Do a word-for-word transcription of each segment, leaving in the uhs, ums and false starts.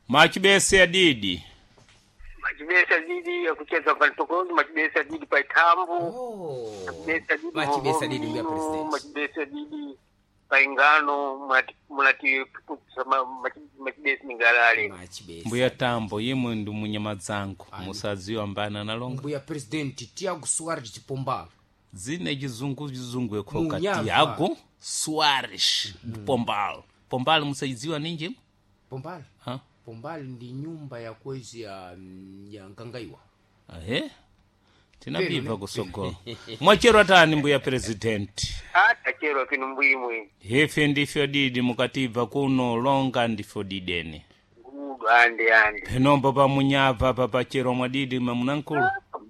Machibese adidi. Machibesa didi ya kucheza pantokozi, machibesa didi paitambu. Oh. Machibesa didi Machibesa didi mbuya Vovomino, president. Machibesa didi paingano mati mulati machibesa ningalale. Machibesa. Mbuya Tambo imwe ndi munyama dzangu musadziwa mbana nalonga Mbuya president Tiago Soares de Pombal. dzine chizungu chizungu yekhoka Munyava. Tiago Soares Pombal. Pombal musayidziwa ninji? Pombal. Ha? Pombal ndi nyumba ya kwezi ya ya Nkangaiwa. Ahe. Tinabibva Peno, ne? kusogolo. Mwachero atani mbuya president. Atachero kinu mbwimwe. Hefe ndifyo didi mukatibva kuno longa ndifyo didene. Ngudu ande ande. Penombo pamunyava papachero mwadidi mamunankulu.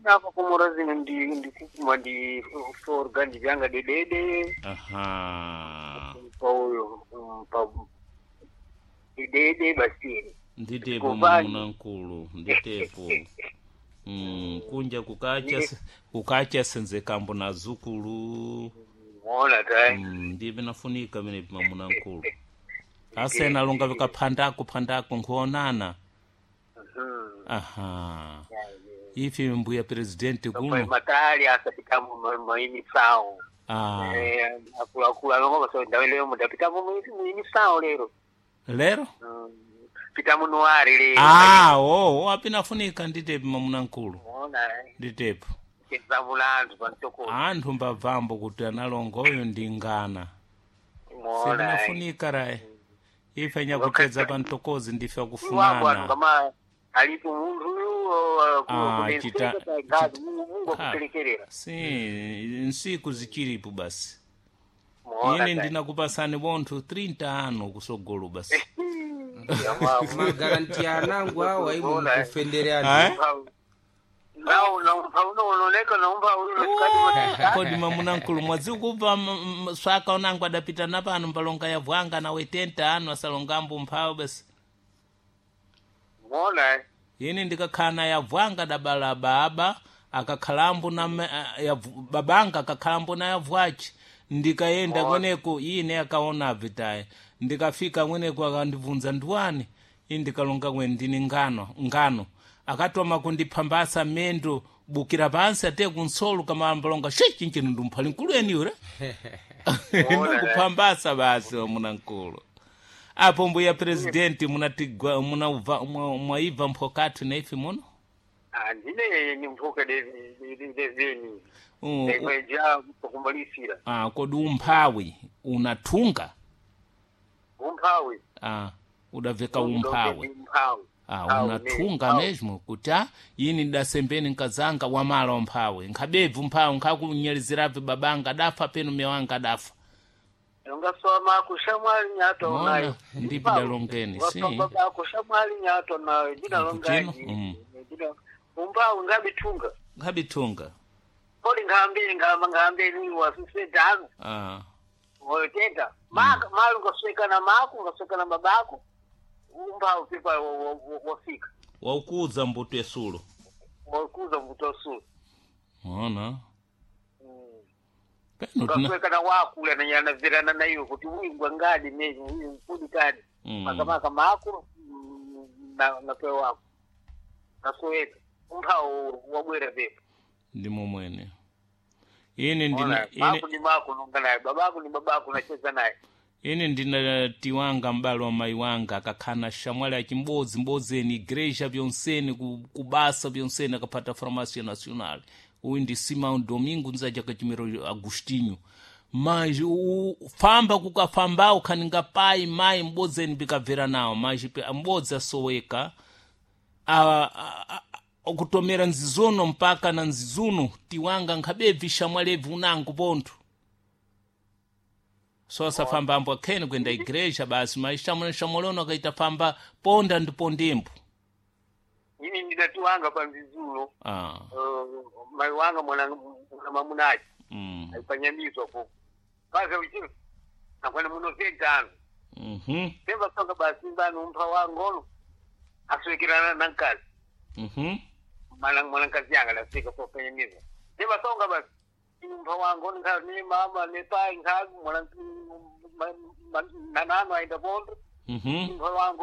Napa kumura zino ndi ndikukuma ndi forga ndivyanga dedede. Aha. Pauyo pa dedede basini. Nditepo Kuvani. mamunankulu nditepo. Mm, kunja kukacha kukacha senzekambo na zukulu. Muona tai. Mm, ndiye nafunika mene mamunankulu. Asena longa vikaphandako phandako nkuonana. Mhm. Aha. Ife mbuya presidenti Pa kuno. matali asapitamo maini sao. Ah. Eh akula longo baso ndawele mudapitamo muini sao lero. Lero? Mm, Pitamo nuari lero. Ah, oh, oh, apinafunika nditepo mamunankulu. Muona eh. Nditepo. Chezamulanthu pantoko. Anthu mbabvambo kuti analongoyo ndi ngana. Muona. eh. Sinafunika rayi. Ife nyakucheza pantokozi ndife Iwapo anthu akufunana. kama alipo munthu uyu Ah, chita- kudensekagazi Mungu Ah. akupelekerera. Si, nsiku zichilipo basi. Muona. Ine tai. ndinakupasani bonthu thirty anu kusogolo basi. Magaranti anangu awa imwe Muona, eh. mukufendere Eh? anthu. Nawo naumpa unooneka naumpa uno Kodi mamunankulu mwazikubva m- m- swaka unangu adapita napano mbalonga ya vwanga nawe tenta anu asalongambo mphawo basi. Muona eh. Ine ndikakhala na yavwanga dabala baba akakhalambo na ma- a- yavu- babanga akakhalambo na yavwaci ndikayenda kweneko ine akaona vitaye ndikafika kweneko akandibvunza ndiwani ine ndikalonga kweni ndini ngano ngano akatoma kundiphambasa mendo bukira pansi ate kunsolo kamambalonga she chinchino ndumphali nkulu eniure ndikuphambasa basi wamunankulu apo mbuya presidenti munatigwa munauva mwa- mwaibva mphokathu naife muno Ah, ndine ni mphuka deveni U- u- ndikweja pakumbalisira ah, kodi umphawi unathunga umphawi ah, udaveka umphawi umphawi ah, unathunga mesmo kuti ah, yini ndasembeni nkazanga wamala umphawi nkhabebvu mphawi nkhakunyalizirabe babanga adafa penu mya wanga adafa ungasoma mako shamwali nyato Mona, nayo ndipo dalongeni, si. bako shamwali nyato nayo ndinalongaji Kutino, mm. umphawi ngabithunga nkhabithunga kodi ngahambeni ngahamba ngahambeni wasusedano ah. wotenda maka mali ungaswekana mako ungaswekana babako umphawi pipa wafika waukuza mbuto yesulo wakuza mbuto mona peno tina ungaswekana wakula nanyanavirana nayo kuti uyu ngadi mezi uyu mkudi kadi Mm. makamaka mako mm, na napewa wako nasoweka umphawo wabwera pepo ndimo mwene ine ndina Ona, ine, mako ni mako nonga naye babako ni babako nacheza naye ine ndina tiwanga m'bale wa mayi wanga akakhana shamwali achimbodzi mbodzeni igreja byonseni ku- kubasa byonseni akaphata farmácia nacional uyu ndi simão domingo nzaja kachimiro agostinho mas u- famba kukafambawo khaninga pai mayi mbodzeni bikabvera nawo mas pe- mbodzi asoweka a- a- a- okutomera nzizuno mpaka na nzizuno tiwanga nkhabebvi shamwalebvi unango pontho sosafamba ambo akheni kuenda igreja basi mas shamwaliono akaita famba ponda ndi pondembo ini ndinatiwanga pa mzizulo ah, uh, mayi wanga mwana mwana mamunachi mm, aipanyamizwa po paza uchi akwana muno tentano mhm, temba songa basi mbano umpha wangono aswekerana na nkazi mhm, mwana mwanakazi yanga lasika popanyamiza temba songa basi umpha wangono nkha ni mama ni pai nkha mwana nanano aenda pondo mhm. umpha wango